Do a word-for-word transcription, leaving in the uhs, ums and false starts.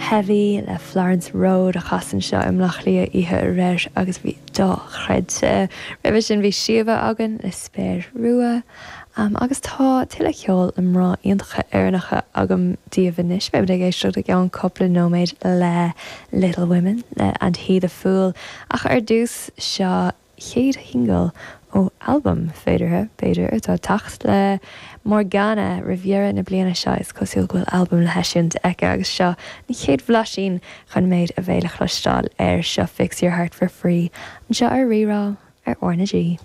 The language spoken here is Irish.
Heavy le Florence Road a chas anseo i mBleá Cliath oíche aréir agus bhí dochreidte. Roimhe sin bhí Síomha againn le Spéir Rua. Um, agus tá tuilleadh ceoil le mná iontacha Éireannacha agam daoibh anois beimid ag éisteacht i gceann cúpla nóiméad le Little Women le And He the Fool ach ar dtús seo chéad shingil ó albam féideartha b'fhéidir atá ag teacht le Morgana roimh dheireadh na bliana seo is cosúil go bhfuil albam le heisiúint aici agus seo an chéad bhlaisín chun méid a bheidh le cloisteáil ar seo Fix Your Heart for Free anseo ar Rí-Rá ar R na G.